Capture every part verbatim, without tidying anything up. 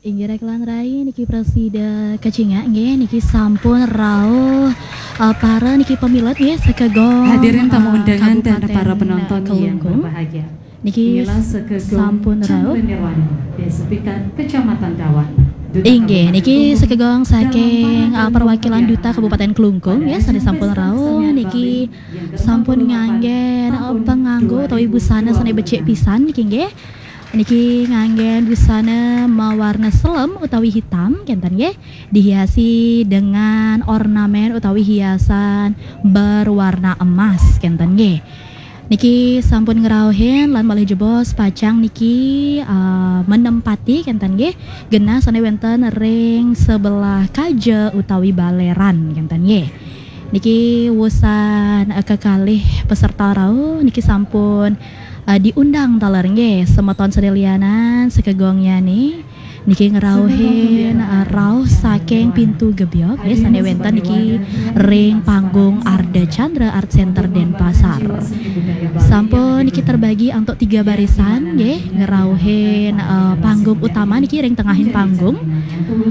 Inggih rekan rai, niki prasida kacingak nggih, niki sampun rauh, eh, para niki pamilet nggih, sekegong, hadirin tamu eh, undangan dan Kabupaten para penonton yang Kelungkung. Berbahagia. Niki inilah sekegong sampun rauh. Chandra Nirwani, Desa Pitan, Kecamatan Dawan. Duta Inggih, Kabupaten niki Kelungkung sekegong dan saking, para eh, perwakilan perwakilan Duta Kabupaten Kelungkung, pada ya, sané ajang sampun pesta rauh kesenian niki Bali yang sampun nganggen, eh, penganggo utawi busana sané becik pisan niki nggih. Niki nganggen busana mawarna selem utawi hitam, kenten nggih. Dihiasi dengan ornamen utawi hiasan berwarna emas, kenten nggih. Niki sampun ngrauhin lan malih jebos pacang niki, eh, menempati, kenten nggih, genah sané wénten ring sebelah kaja utawi baleran, kenten nggih. Niki wusan, eh, kekalih peserta rauh niki sampun, eh, diundang taler nggih, semeton sané lianan sekegongnya nih. Niki ngrauhin, eh, rauh saking pintu gebyok nggih, sané wénten niki ring panggung Ardha Chandra Art Center Denpasar. Sampun niki terbagi antuk tiga barisan nggih, ngrauhin, eh, panggung utama niki ring tengahing panggung.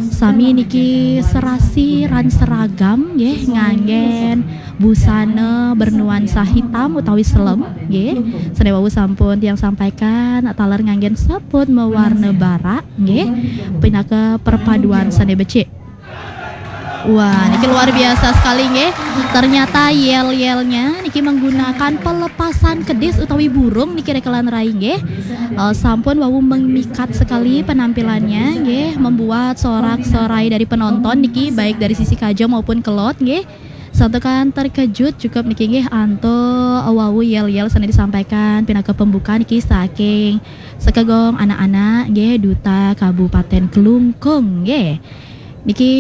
Sami niki serasi ran seragam nggih, nganggen busana bernuansa hitam utawi selem nggih. Sané wau sampun tiang sampaikan, taler nganggen saput mawarna barak nggih, pinaka perpaduan sané becik. Wah, niki luar biasa sekali nggih. Ternyata yel-yelnya niki menggunakan pelepasan kedis utawi burung niki rekan rai nggih. Eh, sampun wau memikat sekali penampilannya nggih, membuat sorak-sorai dari penonton niki, baik dari sisi kaja maupun kelod nggih. Santukan terkejut cukup niki nggih antuk wau yel-yel sané disampaikan pinaka pembuka niki saking sekegong anak-anak nggih, Duta Kabupaten Kelungkung nggih. Niki,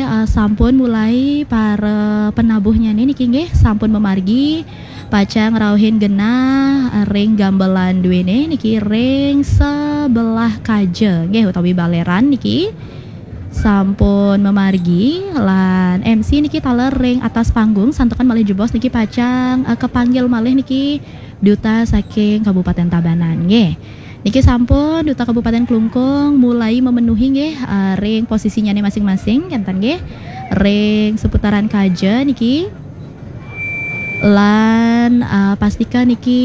eh, sampun mulai para penabuhnya nih niki nggih, sampun memargi pacang ngrauhin genah, eh, ring gambelan duéné niki ring sebelah kaja nggih, utawi baleran niki sampun memargi lan M C niki taler ring atas panggung, santukan malih jebos niki pacang, eh, kepanggil malih niki Duta saking Kabupaten Tabanan nggih. Niki sampun Duta Kabupaten Kelungkung mulai memenuhi nggih, eh, ring posisinya nih masing-masing, kenten nggih. Ring seputaran kaja niki. Lan, eh, pastika niki